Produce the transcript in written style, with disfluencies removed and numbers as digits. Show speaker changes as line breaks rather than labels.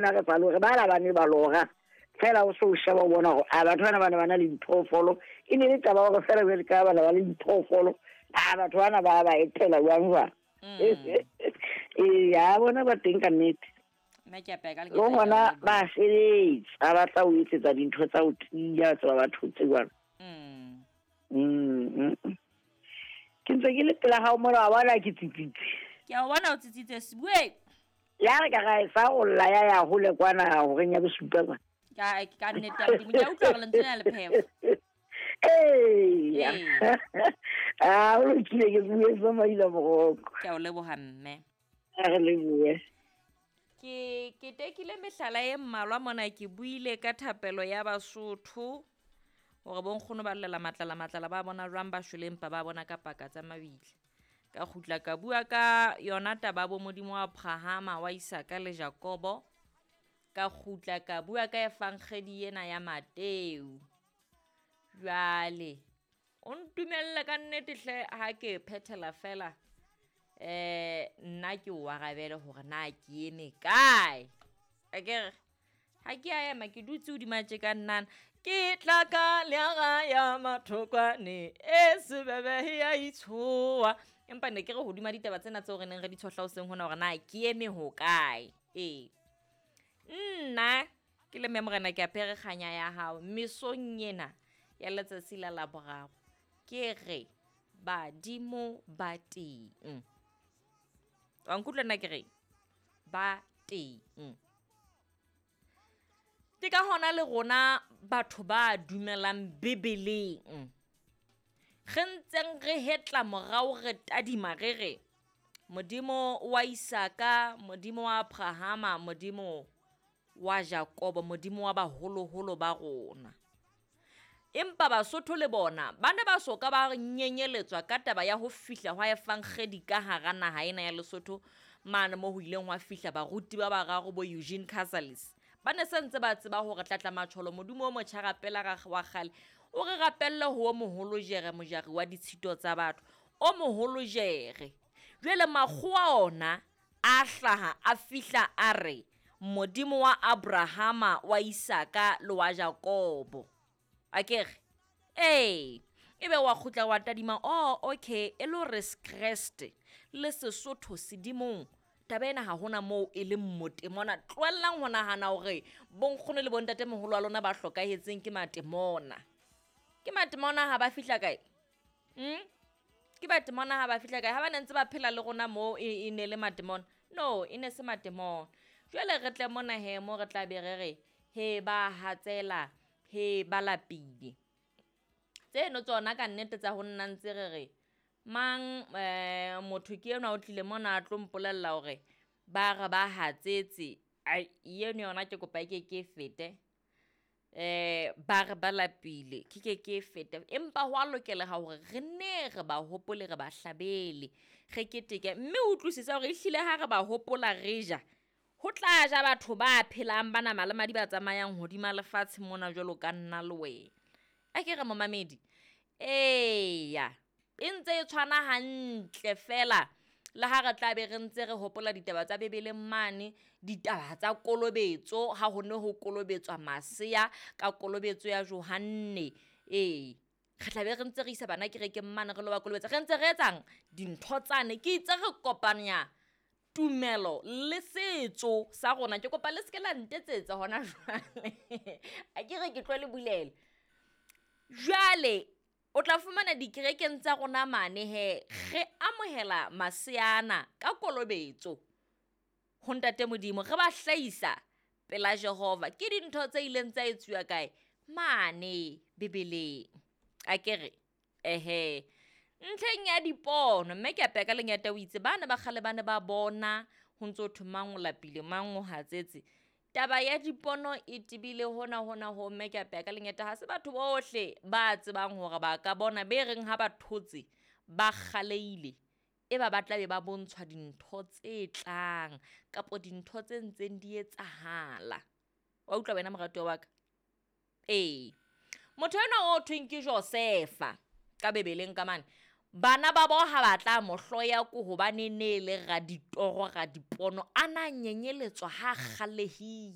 Nna re sa lore, bana ba ne ba lora fela o se o sheba o bona gore a batho bana ba ne ba na le diphoofolo. E ne e le taba gore fela jwale ka bana ba le diphoofolo, a batho bana ba ba etela jwang jwang. Ee, a bona ba teng ka nnete.
Nna ke apeya ka
Le gona ba sebetsa, ba tla o etsetsa dintho tsa ho tiya, tseba ba thotse jwalo. Ke ntse ke le pela gago mona, wa bona ke tsitsitse.
Ke a o bona o tsitsitse, Sibue.
Ya re ka ra e fa go lla ya ya hole kwana horeng ya bosupa kwa.
Ka nnete ya Modimo, ke a utlwa gore lentswe lena le phefo.
Ee.
Ee.
A o lokile, ke bue sa maila moroko.
Ke a o leboga mme.
A re lebohe.
Ke ketekile mehlala e mmalwa mona, ke buile ka thapelo ya Basotho gore bonkgono ba llela matlala matlala ba bona jwang ba shwele empa ba bona ka paka tsa mabitla. Ka kgutla ka bua ka yona taba bo Modimo wa Abrahama, wa Isaka le Jakobo. Ka kgutla ka bua ka efankgedi ena ya Mateu. Jwale o ntumelle ka nnete hle ha ke phethela fela, nna ke o arabele hore na ke eme kae. Akere ha ke a ema, ke dutse hodima tje ka nnana. Ke tla ka leaga ya mathokwane e sebebe ya itshoa. Empa ne ke re hodima ditaba tsena tseo re neng re di tshohla hoseng hona hore na ke eme hokae. Ee. Nna ke le mme morena ke apere kganya ya hao mesong ena ya letsatsi la Laboraro. Ke re badimo ba teng. Wa nkutlwa nna ke reng? Ba teng. Ke ka hona le rona batho ba dumelang Bibeleng. Re ntseng re hetla morao re tadima re re Modimo wa Isaka, Modimo wa Abrahama, Modimo wa Jakobo, Modimo wa baholoholo ba rona. Empa Basotho le bona ba ne ba soka ba nyenyeletswa ka taba ya ho fihla hwa efankgedi ka hara naha ena ya Lesotho, mane mo ho ileng hwa fihla baruti ba bararo bo Eugene Casalis. Ba ne se ntse ba tseba hore tlatla matjholo Modimo o motjha rapela ra wa kgale o re rapelle ho o moholo jere mojari wa ditshito tsa batho o moholo jere. Jwale makgowa ona a hlaha a fihla a re Modimo wa Abrahama, wa Isaka le wa Jakobo. Akere? Ee, ebe wa kgutla wa tadima, oh, okay, e le hore Kreste le Sesotho sedimong taba ena ha hona moo e leng motemona. Tlohellang ho nahana hore bonkgono le bontatemoholo wa lona ba hlokahetseng ke matemona. Ke matemona ha ba fihla kae? Ke matemona ha ba fihla kae? Ha ba ne ntse ba phela le rona moo e ne le matemona. No, e ne se matemona. Jwale re tle mona he mo re tla be re re he ba hatsela, he ba lapile. Tseno tsona ka nnete tsa ho nna ntse re re mang, motho ke enwa o tlile mona a tlo mpolella hore ba re ba hatsetse. Ai, eno yona ke kopa e ke ke e fete. Ba re ba lapile, ke ke ke e fete. Empa ho a lokeleha hore re nne re ba hopole, re ba hlabele, re keteke. Mme o utlwisise hore ehlile ha re ba hopola re ja, ho tla ja batho ba phelang ba nama le madi ba tsamayang hodima lefatshe mona jwalo ka nna le wena. A ke re momamedi? Eya, e ntse e tshwana hantle fela le ha re tla be re ntse re hopola ditaba tsa Bibeleng mane, ditaba tsa kolobetso, ha ho ne ho kolobetswa masea ka kolobetso ya Johanne. Ee, re tla be re ntse re isa bana kerekeng mane re lo ba kolobetsa. Re ntse re etsang dintho tsane, ke itse re kopanya tumelo le setso sa rona. Ke kopa le seke la ntetsetsa hona jwale. A ke re ke tlo le bulela. Jwale o tla fumana dikerekeng tsa rona mane he re amohela maseana ka kolobetso ho Ntate Modimo, re ba hlahisa pela Jehova. Ke dintho tse ileng tsa etsuwa kae? Mane Bibeleng. A ke re ehe, ntlheng ya dipono, mme ke apeya ka lengeta o itse bana ba kgale ba ne ba bona ho ntso thwe mang o lapile, mang o hatsetse. Taba ya dipono e tebile hona hona ho, mme ke apeya ka lengeta. Ha se batho bohle ba tsebang hore ba ka bona, be reng ha ba thotse ba kgaleile, e ba ba tla be ba bontshwa dintho tse tlang kapo dintho tse ntseng di etsahala. Wa utlwa wena moratuwa wa ka? Ee, motho enwa o thweng ke Josefa ka Bibeleng ka mane. Bana ba bo ha ba tla mo hloya ko hobane ne e le raditoro, radipono, a na nyenyeletswa ha kgalehile.